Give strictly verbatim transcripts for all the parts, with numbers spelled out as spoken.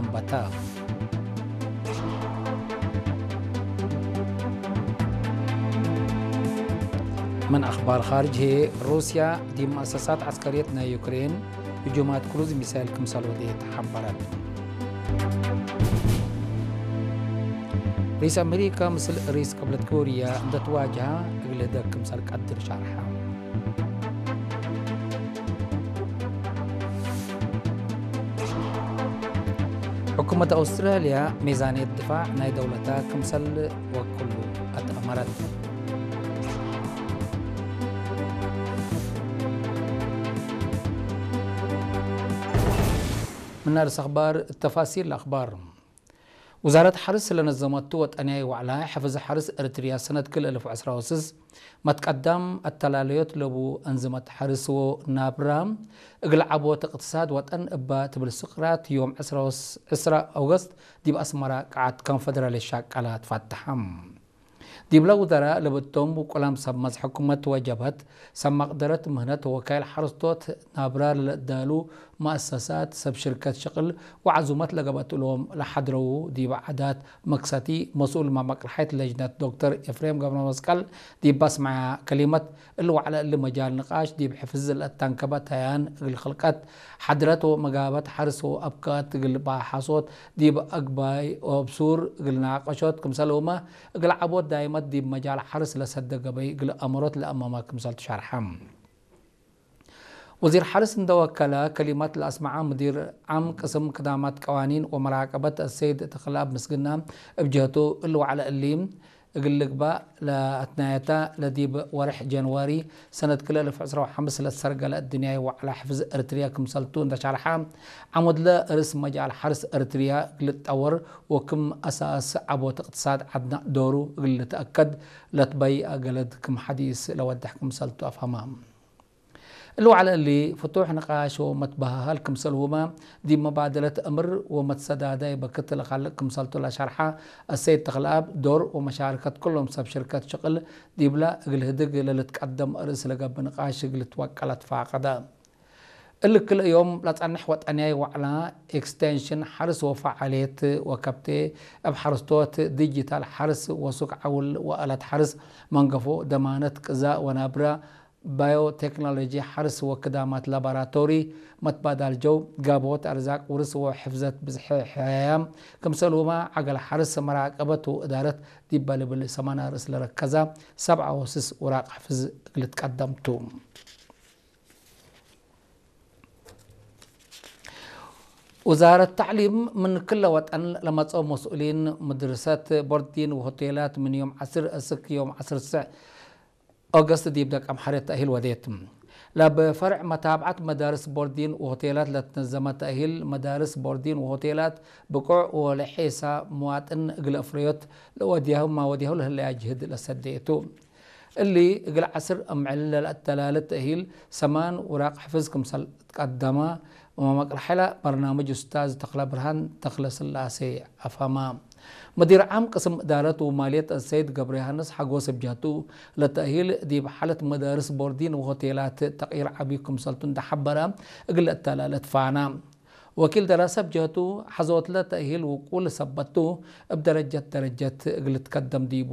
አንበታ። ምን አኽባር ኻርጅ ህዬ፣ ሩስያ ዲብ መአሰሳት ዐስከርየት ናይ ዩክሬን ህጁማት ክሩዝ ሚሳይል ክምሰል ወዴት ሐበረት። ርኢስ አሜሪከ ምስል ርኢስ ቅብለት ኮርያ እንደ ትዋጅሀ እግል ህደግ ክምሰል ቀድር ሸርሐ። ሕኩመት አውስትራልያ ሚዛንየት ድፋዕ ናይ ደውለታ ክምሰል ወክሉ አትአመረት። ምን አርእስ አኽባር፣ ተፋሲል አኽባር። ውዛረት ሐርስ ለነዘመቱ ወጠንያይ ወዕላ ሕፍዝ ሐርስ ኤረትርያ ሰነት ክል እልፍ ወዕስራ ወስስ መትቀዳም አተላለዮት ለቡ አንዝመት ሐርስ ወናብራ እግል ዐቦት እቅትሳድ ወጠን እባ ትብል ስቅራት ዮም ዕስራ ወስ-፣ ዕስራ ኦገስት ዲብ አስመራ ቀዓት ኮንፈደራልየት ሻቀላ ትፋተሐ። ዲብለ ውዘራእ ለብቶም ውቁላም ሰብ መዝ ሕኩመት ወጀብሀት፣ ሰብ መቅደረት ምህነት ወወካይል ሐረስቶት ናብራ ለለአዳሉ መአሰሳት፣ ሰብ ሽርከት ሽቅል ወዐዙመት ለገብአት እሎም ለሐድረዉ ዲብ ዓዳት መክሰቲ መስኡል መመቅርሐይት ለጅነት ዶክተር ኤፍሬም ገብረመስቀል ዲብ አስመዐያ ከሊመት፣ እሊ ወዕለ እሊ መጃል ንቃሽ ዲብ ሕፍዝ ለአተንከበ ተያን እግል ክልቀት ሐድረት ወመጋበት ሐርስ ወአብካት እግል ባሐሶት ዲብ አግባይ ወአብሱር እግል ናቀሾት ክምሰልሁመ፣ እግል ዐቦት ዳይመት ዲብ መጃል ሐርስ ለሰደ ገበይ እግል አመሮት ለአመመ ክምሰል ትሸርሐ። ወዚር ሐርስ እንደ ወከለ ከሊመት ለአስመዐ ሙዲር ዓም ቅስም ክዳማት ቀዋኒን ወመራቀበት አሰይድ ተክለአብ ምስግና እብ ጀህቱ፣ እሊ ወዕለ እሊ እግል ልግባእ ለአትናየተ ለዲብ ወርሕ ጀንዋሪ ሰነት ክልኤ እልፍ ዕስራ ወሐምስ ለትሰርገለ እድንያይ ወዕለ ሕፍዝ ኤረትርያ ክምሰልቱ እንደ ሸርሐ፣ ዐሙድለ ርእስ መጃል ሐርስ ኤረትርያ እግል ልትጠወር ወክም አሳስ ዐቦት እቅትሳድ ዐድነ ዶሩ እግል ልትአከድ ለትበይአ ገለድ ክም ሐዲስ ለወድሕ ክምሰልቱ አፍሀመ። እሊ ወዐለ እሊ ፍቱሕ ንቃሽ ወመትበሃሃል ክምሰልሁመ፣ ዲብ መባደለት እምር ወመትሰዳዳይ በክት ለካልእ ክምሰልቱ ለሸርሐ አሰይድ ተክለአብ፣ ዶር ወመሻረከት ኩሎም ሰብ ሽርከት ሽቅል ዲብለ እግል ህድግ ለልትቀደም ርእስ ለገብእ ንቃሽ እግል ልትወቀል አትፋቀደ። እሊ ክልኤ ዮም ለጸንሕ ወጠንያይ ወዕላ ኤክስቴንሽን ሐርስ ወፈዓልየት ወከብቴ እብ ሐረስቶት፣ ዲጂታል ሐርስ ወሱቅ ዐውል ወአለት ሐርስ፣ መንገፎ፣ ደማነት ቅዛእ ወናብረ፣ ባዮቴክኖሎጂ ሐርስ ወክዳማት ላቦራቶሪ፣ መትባዳል ጀው፣ ጋብሆት አርዛቅ፣ ውርስ ወሕፍዘት ብዝሒ ሕያያም፣ ክምሰልሁመ ዐገል ሐርስ፣ መራቀበት ወእዳረት ዲበ ልብል ሰማን አርእስ ለረከዛ ሰብዓ ወስስ ውራቅ ሕፍዝ እግል ልትቀደም ቱ። ውዛረት ተዕሊም ምን ክለ ወጠን ለመጽኦ መስኡሊን፣ ምድርሰት፣ ቦርዲን ወሆቴላት ምን ዮም ዐስር እስክ ዮም ዐስር ሰዕ ኦገስት ዲብ ደቀምሐሬት ተእሂል ወዴት። ለአብ ፈርዕ መታብዐት መዳርስ ቦርዲን ወሆቴላት ለትነዘመ ተእሂል፣ መዳርስ ቦርዲን ወሆቴላት ብቁዕ ወለሔሳ ምዋጥን እግል አፍረዮት ለወድያሁ ማወድያሁ ለህለያ ጅህድ ለሰዴ ቱ። እሊ እግል ዐስር አምዕል ለለአተላለ ተእሂል ሰማን ውራቅ ሕፍዝ ክምሰል ትቀደመ፣ ወመቅረሐለ በርናምጅ ኡስታዝ ተክለብርሃን ተክለስላሴ አፍሀመ። መዲር ዓም ቅስም እዳረት ወማልየት አሰይድ ገብረዮሐንስ ሐጎስ እብ ጀህቱ፣ ለተእሂል ዲብ ሓለት መዳርስ ቦርዲን ወሆቴላት ተቅይር ዐቢ ክምሰልቱ እንደ ሐበረ፣ እግል ለአተላለት ፋና። ወኪል ደረሰ እብ ጀህቱ፣ ሐዞትለ ተእሂል ውቁል ሰበት ቱ፣ እብ ደረጀት ደረጀት እግል ልትከደም ዲቡ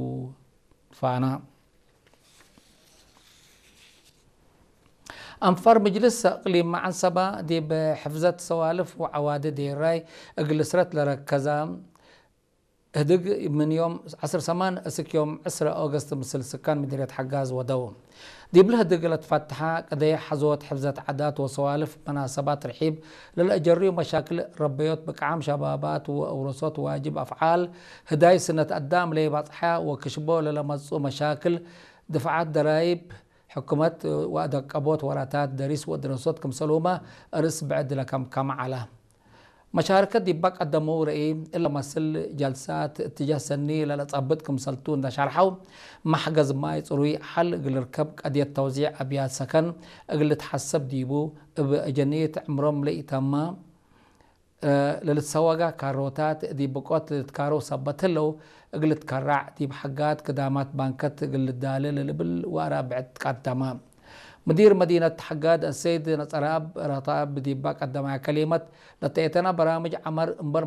ፋና። አንፋር ምጅልስ እቅሊም መዐንሰባ ዲብ ሕፍዘት ሰዋልፍ ወዐዋዲ ዴራይ እግል ልስረት ለረከዛ ህድግ ምን ዮም ዐስር ሰማን እስክ ዮም ዕስረ ኦገስት ምስል ስካን ምድርየት ሐጋዝ ወደው። ዲብለ ህድግ ለትፈትሐ ቅደይ ሐዞት ሕፍዘት ዓዳት ወሰዋልፍ መናሰባት ርሒብ ለለአጀርዩ መሻክል ረበዮት ብቅዓም ሸባባት ወአውረሶት ዋጅብ አፍዓል ህዳይ ስነት አዳም ለይባጽሐ ወክሽቦ ለለመጽኡ መሻክል ድፍዓት ደራይብ፣ ሕኩመት ወአደቀቦት ወራታት ደሪስ ወድረሶት ክምሰልሁመ እርስ ብዕድ ለከምከመ ዐለ። መሻርከት ዲባ ቀደመው ረኢ እለ መስል ጀልሳት እትጃህ ሰኒ ለለጸብጥ ክምሰልቱ እንደ ሸርሐው፣ መሕገዝ ማይ ጽሩይ ሐል እግል ልርከብ፣ ቀድየት ተውዚዕ አብያት ሰከን እግል ልትሐሰብ ዲቡ፣ እብ አጀኒት ዕምሮም ለኢተመ ለልትሰወጋ ካሮታት ዲብ ብቆት ልትካረው ሰበት ህለው፣ እግል ልትከራዕ ዲብ ሐጋት ክዳማት ባንከት እግል ልዳሌ ለልብል ወአራብዕ ትቀደመ። ምዲር መዲነት ሐጋድ አሰይድ ነጸረአብ ረታብ ዲባ ቀደማያ ከሊመት፣ ለተኤተና በራምጅ ዐመር እምበል